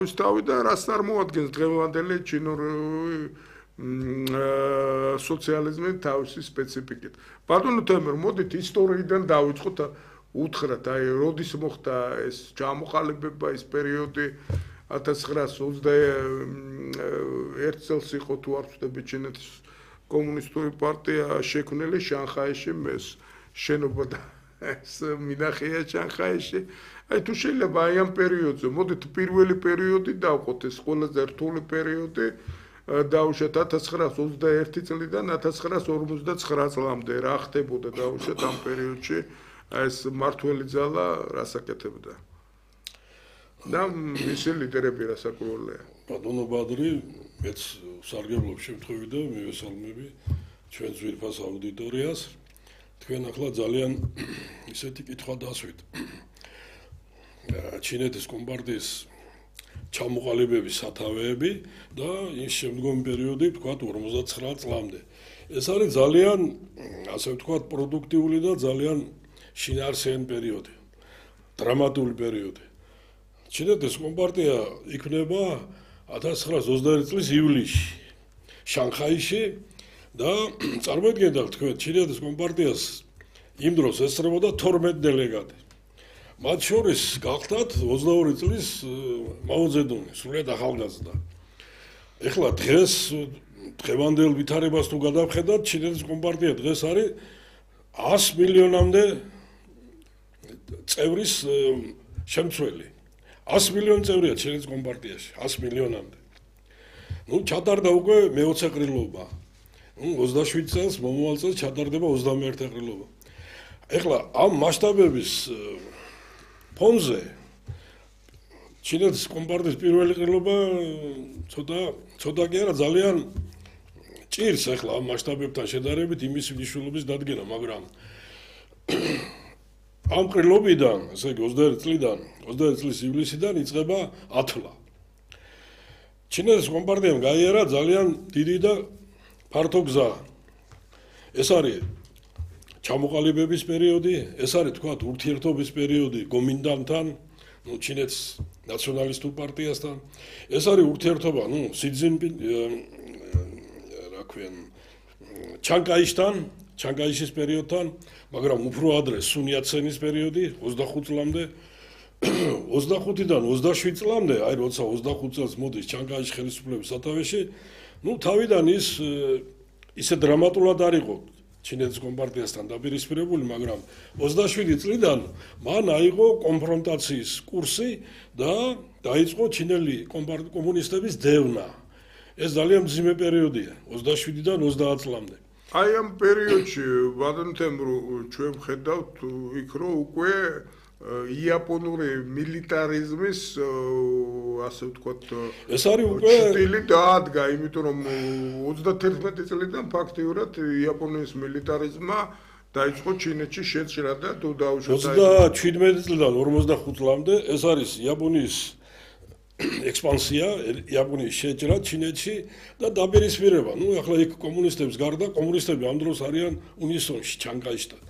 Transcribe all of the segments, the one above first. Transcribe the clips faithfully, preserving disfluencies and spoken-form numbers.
Თავიდან რას წარმოადგენს დღევანდელი ჩინური სოციალიზმის თავისი სპეციფიკით. ბატონო თემურ, მოდით ისტორიიდან დავიწყოთ, უთხრათ, აი, როდის მოხდა ეს ჩამოყალიბება, ეს პერიოდი ათას ცხრაას ოცდაერთ წელს იყო თუ არ ვცდები ჩინეთის კომუნისტური პარტია შექმნილი შანხაიში, ეს შენობა და ეს მინახია შანხაიში. აი თუ შეიძლება აი ამ პერიოდზე, მოდით პირველი პერიოდი დავყოთ, ეს ყველაზე რთული პერიოდი დავუშვათ ათას ცხრაას ოცდაერთი წლიდან ათას ცხრაას ორმოცდაცხრა წლამდე რა ხდებოდა დავუშვათ ამ პერიოდში ეს მართველი ძალა რას აკეთებდა და მისი ლიდერები რას აკრულეა. ბატონო ბადრი, მეც სარგებლობ შემთხვევით და მივესალმები ჩვენ ძვირფას აუდიტორიას. თქვენ ახლა ძალიან ისეთი კითხვა დასვით. ჩინეთის კომპარტიის ჩამოყალიბების სათავეები და ის შემდგომი პერიოდი ვთქვათ ორმოცდაცხრა წლამდე. ეს არის ძალიან, ასე ვთქვათ, პროდუქტიული და ძალიან შინაარსიანი პერიოდი, დრამატული პერიოდი. ჩინეთის კომპარტია იქმნება ათას ცხრაას ოცდაერთი წლის ივლისში შანხაიში და წარმოიდგინეთ თქვენ ჩინეთის კომპარტიას იმ დროს ესწრებოდა თორმეტი დელეგატი. მათ შორის გახდათ ოცდაორი წლის მაო ძედუნი, სრულიად ახალგაზრდა. ეხლა დღეს დღევანდელ ვითარებას თუ გადავხედათ, ჩინეთის კომპარტია დღეს არის ას მილიონამდე წევრის შემცველი. ას მილიონი წევრია ჩინეთის კომპარტიაში, ას მილიონამდე. ნუ ჩატარდა უკვე მეოცე ყრილობა. ნუ ოცდაშვიდ წელს მომავალ წელს ჩატარდება ოცდამეერთე ყრილობა. ეხლა ამ მასშტაბების ფონზე ჩინეთის კომპარტიის პირველი ყრილობა ცოტა ცოტა კი არა ძალიან ჭირს ახლა ამ მასშტაბებთან შედარებით იმის მნიშვნელობის დადგენა, მაგრამ ამ ყრილობიდან, ესე იგი ოცდაერთი წლიდან, ოცდაერთი წლის ივლისიდან იწყება ათვლა. ჩინეთის კომპარტიამ გაიარა ძალიან დიდი და ფართო გზა. ეს არის ჩამოყალიბების პერიოდი, ეს არის თქვათ ურთიერთობის პერიოდი გომინდანთან, ნუ ჩინეთის ნაციონალისტურ პარტიასთან. ეს არის ურთიერთობა, ნუ სი ძინპინ რა ქვია, ჩანგაიშთან, ჩანგაიშის პერიოდთან, მაგრამ უფრო ადრე სუნ იაცენის პერიოდი ოცდახუთ წლამდე, ოცდახუთიდან ოცდაშვიდ წლამდე, აი როცა ოცდახუთ წელს მოდის ჩანგაიშის ხელისუფლების სათავეში, ნუ თავიდან ის ისე დრამატულად არ იყო ჩინეთის კომპარტიასთან დაპირისპირებული, მაგრამ ოცდაშვიდი წლიდან მან აიღო კონფრონტაციის კურსი და დაიწყო ჩინელი კომუნისტების დევნა. ეს ძალიან მძიმე პერიოდია, ოცდაშვიდიდან ოცდაათ წლამდე. აი ამ პერიოდში ბატონო თემურ, ჩვენ ვხედავთ იქ რომ უკვე იაპონური მილიტარიზმის ასე ვთქვათ ეს არის უკვე სტილი დაადგა, იმიტომ რომ ოცდათერთმეტი წლიდან ფაქტიურად იაპონიის მილიტარიზმმა დაიწყო ჩინეთში შეჭრა და თუ დაუშვათ ოცდაჩვიდმეტი წლიდან ორმოცდახუთ წლამდე ეს არის იაპონიის ექსპანსია, იაპონიის შეჭრა ჩინეთში და დაპირისპირება. ნუ ახლა იქ კომუნისტებს გარდა, კომუნისტები ამ დროს არიან უნისონში ჩანგაიშთან.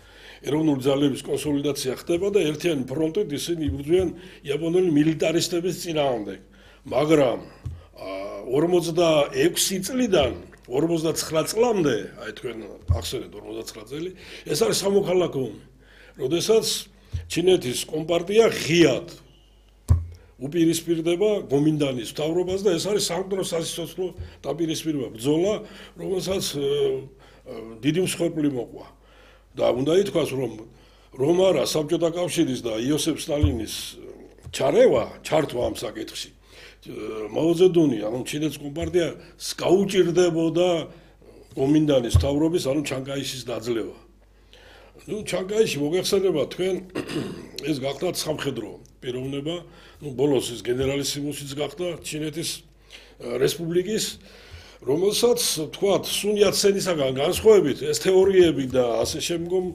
ეროვნული ძალების კონსოლიდაცია ხდება და ერთიანი ფრონტით ისინი იბრძვიან იაპონელი მილიტარისტების წინააღმდეგ. მაგრამ ორმოცდაექვსი წლიდან ორმოცდაცხრა წლამდე, აი თქვენ ახსენეთ ორმოცდაცხრა წელი, ეს არის სამოქალაქო ომი. როდესაც ჩინეთის კომპარტია ღიად უპირისპირდება გომინდანის მთავრობას და ეს არის სამკვდრო სასიცოცხლო დაპირისპირება, ბრძოლა, რომელსაც დიდი მსხვერპლი მოყვა. და უნდა ითქვას, რომ რომ არა საბჭოთა კავშირის და იოსებ სტალინის ჩარევა, ჩართვა ამ საკითხში. მაო ძედუნი, ანუ ჩინეთის კომპარტია გაუჭირდებოდა გომინდანის მთავრობის, ანუ ჩანგაიშის დაძლევა. ნუ ჩანგაიში მოგეხსენება თქვენ ეს გახდა სამხედრო პიროვნება, ნუ ბოლოს ის გენერალისიმუსიც გახდა ჩინეთის რესპუბლიკის, რომელსაც თქვათ სუნ იაცენისაგან განსხვავებით ეს თეორიები და ასე შემდგომ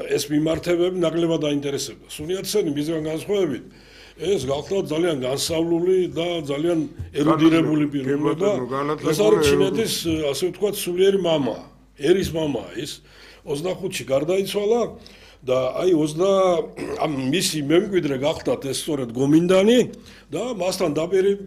ეს მიმართებები ნაკლებად დაინტერესებდა. სუნ იაცენი მისგან განსხვავებით ეს გახდა ძალიან განსავლული და ძალიან ერუდირებული პიროვნება. ეს არის ჩინეთის ასე ვთქვათ სულიერი მამა, ერის მამა ის ოცდახუთში გარდაიცვალა და აი ოცდა ამ მისი მემკვიდრე გახდათ ეს სწორედ გომინდანი და მასთან დაპირი